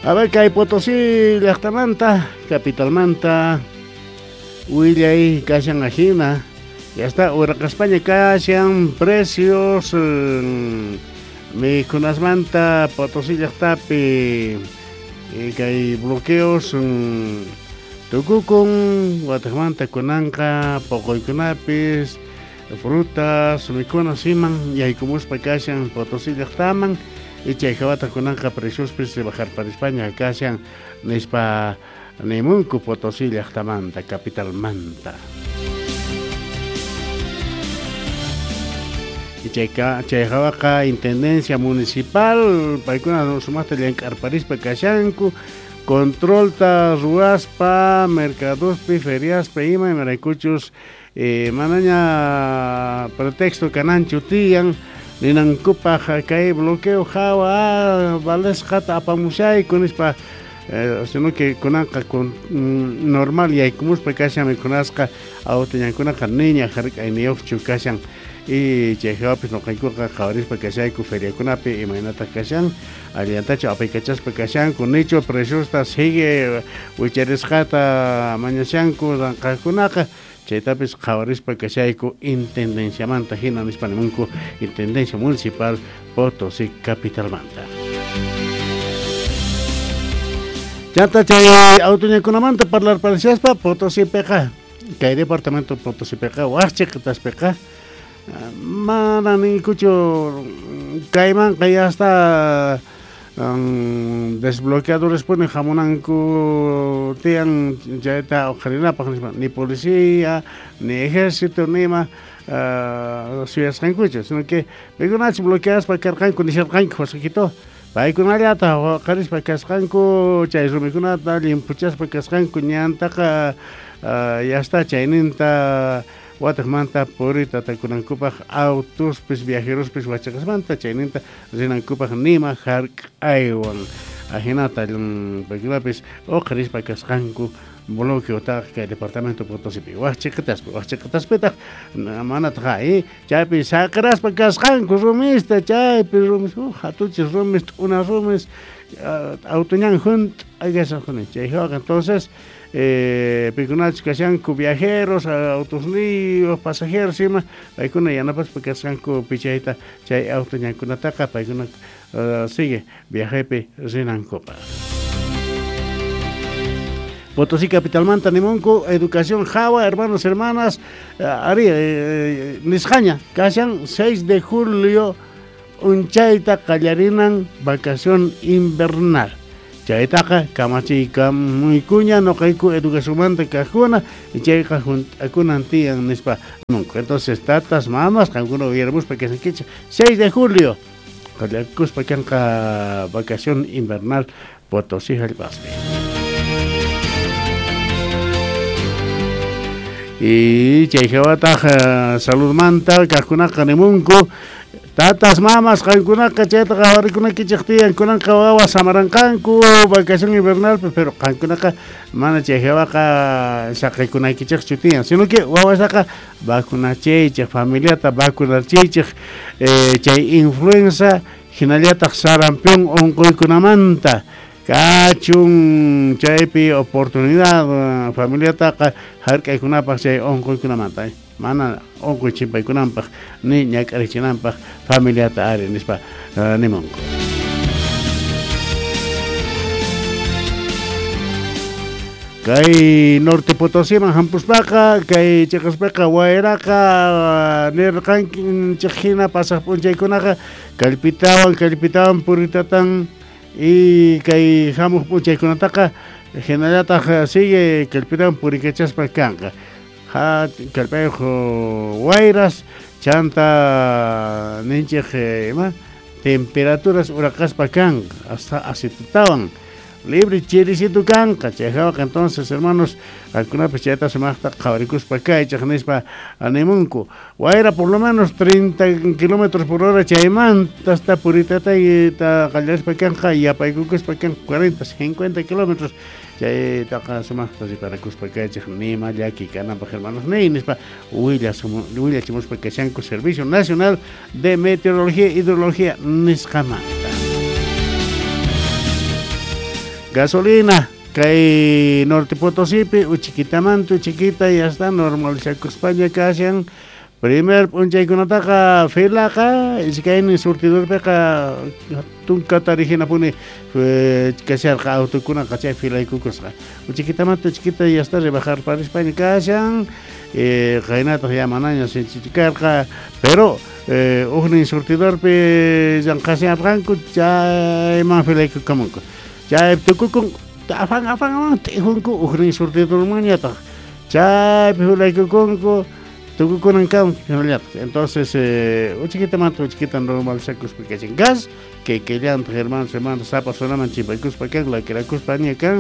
A ver, kay Potosí llaqtamanta, capitalmanta, willay kashan ajina, ya está, uraqaspaña kashan precios mikhunasmanta Potosí llaqtapi kay bloqueos tukukun watejmanta kunanqa poqoykunapis frutas mikhunas iman yaykumuspa kashan Potosí llaqtaman y chay hawata kunanqa preciospis bajarparispaña kashan nispa nimunku Potosí llaqtamanta capitalmanta. Y chay hawaqa intendencia municipal paykuna sumaqta llank'arparispa kashanku controlta ruwaspa mercadospi feriaspa ima imaraykuchus manaña pretexto kananchu tiyan ninankupaj kay bloqueo hawa valesqata apamushayku nispa sino que kunanqa con normal yaykumuspa kashan mikhunasqa awtañankunaqa niña hark'ayniyuqchu kashan y chay hawapis nuqaykuqa qhawarispa kashayku feriakunapi imaynataq kashan allantachu apaykachaspa kashanku nichu preciosta sigue wicharisqata mañashanku ranqaqkunaqa chaytapis qhawarispa kashayku intendenciamanta hina nispa nimunku intendencia municipal Potosí capitalmanta. Chanta chay autoñakunamanta parlarparishaspa Potosípiqa kay departamento Potosípiqa waqchiqitaspiqa mana ninkuchu kaymanqa ya está desbloqueadores puni hamunanku tiyan chayta uqharinapaq nispa ni policía ni ejército ni ima suyasqankuchu sino que paykunachu bloqueaspa karqanku nisharqanku wasqikito paykunallata uqharispa kasqanku chay rumikunata llimpuchaspa kasqanku ñantaqa ya está chayninta watejmanta purita takunankupaq autospis viajerospis wachaqasmanta chayninta rinankupaq nima hark'aywan ajinata paykunapis uqharispa kasqanku bloqueotaqa kay departamento Potosípi waqchiqitaspitaq manataq chaypi saqiraspa kasqanku rumista chaypi rumis hatuchis rumis t'una rumis autoñan junt'a kasqanku chay hawaqa entonces paykunachus kashanku viajeros autosniyuq pasajeros ima paykuna yanapaspa kasqanku pichayta chay autoñankunataqa paykuna sigue viajepi rinankupaq. Potosí capitalmanta nimunku educación hawa hermanos hermanas ari nisqaña kashan 6 de julio unchayta qallarinan vacación invernal. Chaytaqa kamachiykamuykuña nuqayku educacionmanta kaqkuna y chayqa junt'akunan tiyan nispa nimunku. Entonces tatas mamas qankuna uyarimuspa kashankichik 6 de julio qallarkuspa kanqa vacación invernal Potosí hallp'aspi. Y chay hawataq saludmanta kaqkunaqa nimunku tatas mamas qankunaqa chayta qhawarikunakichik tiyan kunanqa wawas samaranqanku vacación invernal pero qankunaqa mana chay hawaqa saqiykunaykichikchu tiyan sino que wawastaqa vacunachiychik familiata vacunachiychik chay influenza hinallataq sarampión unquykunamanta kachun chaypi oportunidad familiataqa hark'aykunapaq chay unquykunamanta mana unquy chimpaykunanpaq ni ñak'arichinanpaq familiata ari nispa nimunku. Kay Norte Potosíman hampuspaqa kay chiqaspaqa wayraqa nirqanchik hina pasaq p'unchaykunaqa kallpitawan puritatan y kay hamuq p'unchaykunataqa hinallataq sigue kallpitawan purikachaspa kanqa kallpayuq wayras chanta ninchik ima temperaturas uraqaspa kanqa hasta asitutawan libre chirisito kanqa chay hawaqa entonces hermanos qankunapis chayta sumaqta qhawarikuspa kaychik nispa nimunku wayra por lo menos 30 kilómetros por hora chaymanta hasta puritatayta qallarispa kanqa yapaykukuspa kanqa 40 50 kilómetros chaytaqa sumaqta riparakuspa kaychik nima llaki kananpaq hermanos ni nispa willachimuspa kashanku Servicio Nacional de Meteorología e Hidrología nisqamanta. Gasolina kay Norte Potosípi uchikitamanta uchikita ya está normalizakuspaña kashan. Primer p'unchaykunataqa filaqa iskaynin surtidorpiqa tunkata rijinapuni kasharqa autokunaqa chay filaykukusqa. Uchikitamanta uchikita ya está rebajarparispaña kashan, qaynataq ya manaña sinchichu karqa, pero ujnin surtidorpi llanqasharqanku chayman filaykukamunku. Chay tukukun afan afan t'ijunku ujnin surtidormanñataq chaypi filaykukunku tukukunan kan hinallataq. Entonces uchikitamanta uchikita normalizakuspa kashan. Gas que kellantaq hermanos hermanas sapa zonaman chimpaykuspa kan lakirakuspaña kan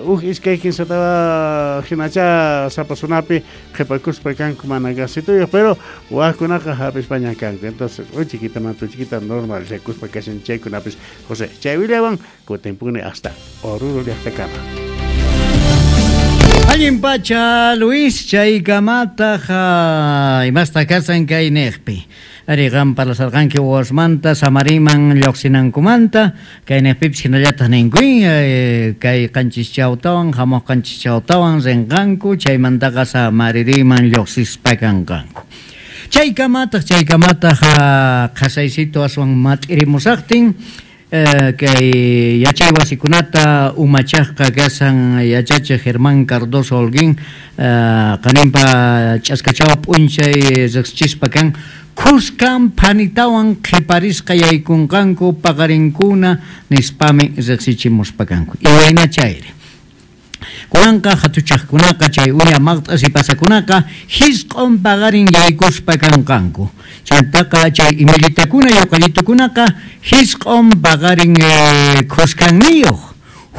uj iskay kinsatawa hinacha sapa zonapi qhipakuspa kanku mana gasituyuq, pero wajkunaqa hap'ispaña kanku. Entonces uchikitamanta uchikita normalizakuspa kashan chaykunapis. José, chay willawan kutinpuni hasta Oruro llaqtakama. Allin pacha Luis, chaykamataq imasta kasan kay niqpi. Ari qam parlasarqanki wawasmanta Samariman lluqsinankumanta, kay niqpipis hinallataq ninkuy, kay qanchischawtawan hamuq qanchischawtawan rinqanku, chaymantaqa Samaririman lluqsispa kanqanku. Chaykamataq qhasaysito aswan mat'irimusaqtin, kay yachay wasikunata umachaqqa kasan yachachiq Germán Cardoso Holguín, qaninpa ch'askachawa p'unchay riqsichispa kan khuskan phanitawan qhiparisqa yaykunqanku paqarinkuna nispami riqsichimuspa kanku. Iwayna chayri. Kunanqa hatuchaqkunaqa chay uña maqt'as y pasakunaqa hisq'un paqarin yaykuspa kanqanku. Chantaqa chay imillitakuna yuqallitukunaqa hisq'un paqarin khuskanniyuq.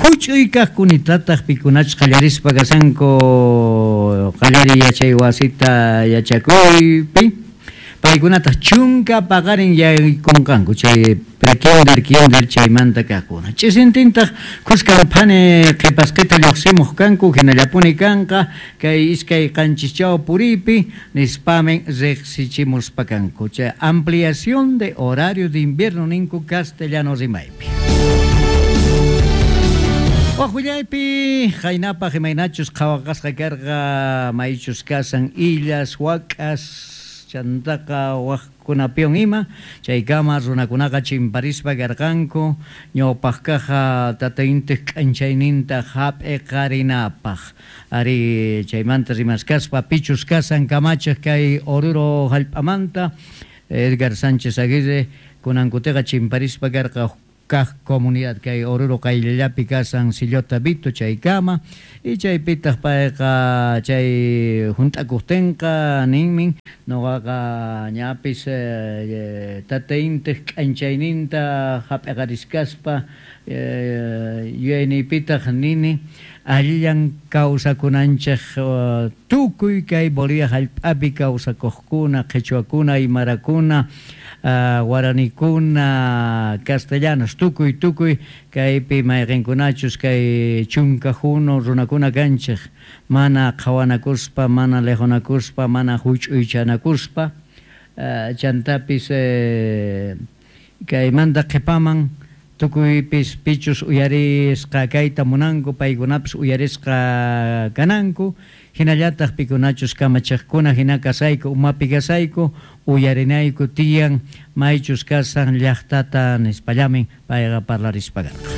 Huch'uy kaqkunitataq pikunachus qallarispa kasanku qallariy yachay wasita yachakuypi. Paykunataq chunka paqarin yaykunqanku chay prekinder, kinder chaymanta kaqkuna. Ch'isintintaq khuskan phani qhipasqita lluqsimuq kanku hinallapuni kanqa kay iskay qanchischaw puripi nispamin riqsichimuspa kanku. Chay ampliación de horario de invierno ninku castellano rimaypi. Waq willaypi qaynapaq imaynachus qhawaqasqa karqa maychus kasan illas, wak'as, chantaqa waqkunapiwan ima, chaykama runakunaqa chimparispa karqanku ñawpaqkaqa tata intiq k'anchayninta hap'iqarinapaq. Ari chaymanta rimaskaspa pichus kasan kamachiq kay Oruro hallp'amanta Edgar Sánchez Aguirre kunankutiqa chimparispa karqa kaq comunidad kay Oruro qayllallapi kasan Sillota Vito chaykama y chaypitaq payqa chay hunt'akuqtinqa ninmin nuqaqa ñapis tata intiq k'anchayninta hap'iqariskaspa yuyayniypitaq nini allillan kawsakunanchik tukuy kay Bolivia hallp'api kawsakuqkuna qhichwakuna aymarakuna guaranikuna castellanos tukuy tukuy kaypi mayqinkunachus kay chunka hunu runakuna kanchik mana qhawanakuspa mana liqhunakuspa mana huch'uychanakuspa chantapis kaymanta qhipaman tukuypis pichus uyarisqa kayta munanku paykunapis uyarisqa kananku hinallataq pikunachus kamachiqkuna hina kasayku umapi kasayku uyarinayku tiyan maychus kasan llaqtata nispallamin payqa parlarispa karqa.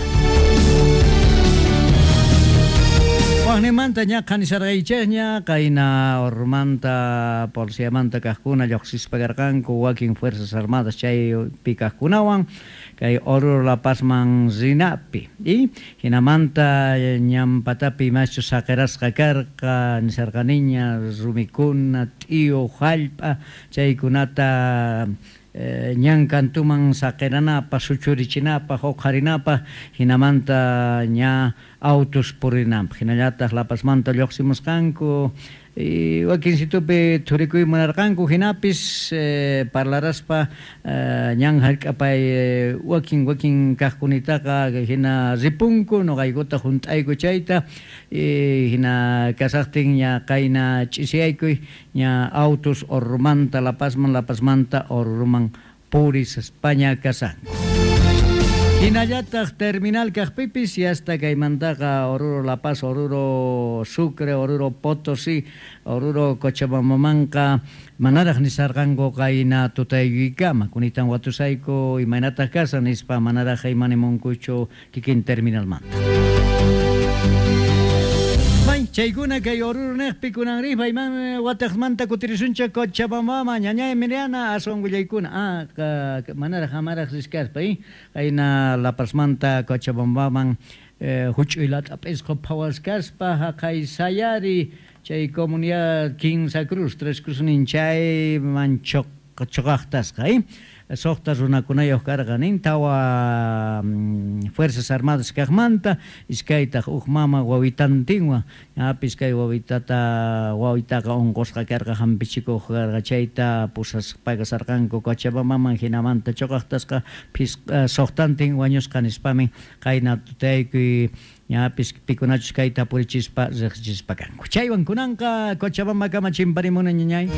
Waqnimanta ña qhanisarqaychikña qayna Ormanta policiamanta kaqkuna lluqsispa karqanku wakin Fuerzas Armadas chaypi kaqkunawan kay Oruro La Pazman rinapi y hinamanta ñampatapi imaschus saqirasqa karqa nisarqaniña rumikuna t'iyu hallp'a chaykunata ñan kantuman saqiranapaq suchurichinapaq uqharinapaq hinamanta ña autos purinanpaq hinallataq La Pazmanta lluqsimusqanku y wakinsitupi thurikuy munarqanku hinapis parlaraspa ñan hallk'apay wakin wakin kaqkunitaqa hina ripunku nuqaykuta hunt'ayku chayta hina kasaqtin ña qayna ch'isiyaykuy ña autos Orurumanta La Pazman, La Pazmanta Oruruman purispaña kasanku. Hinallataq terminal kaqpipis yasta kaymantaqa Oruro La Paz, Oruro Sucre, Oruro Potosí, Oruro Cochabambamanqa manaraq nisarqanku qayna tutaykuykama kunitan watusayku imaynataq kashan nispa manaraq imanimunkuchu kikin terminalmanta. May chaykuna kay Oruro niqpi kunan riq payman wataqmanta kutirisunchik Cochabambaman ñañay Emiliana aswan willaykuna manaraq amaraq riskaspa qayna La Pazmanta Cochabambaman huch'uy lat'a p'isqu phawaskaspa haqay sayari chay comunidad Quinsa Cruz, Tres Cruz nin chayman choqaqtasqa suqta runakunayuq karqa nin tawa Fuerzas Armadas kaqmanta iskaytaq uj mama wawitantinwan ñapis kay wawitata wawitaqa unqusqa karqa hampichikuq karqa chayta pusaspa kasarqanku Cochabambaman hinamanta choqaqtasqa suqtantin wañusqa nispamin qayna tutaykuy ñapis pikunachus kayta purichispa riqsichispa kanku. Chaywan kunanqa Cochabamba kama chimparimuna ñañay.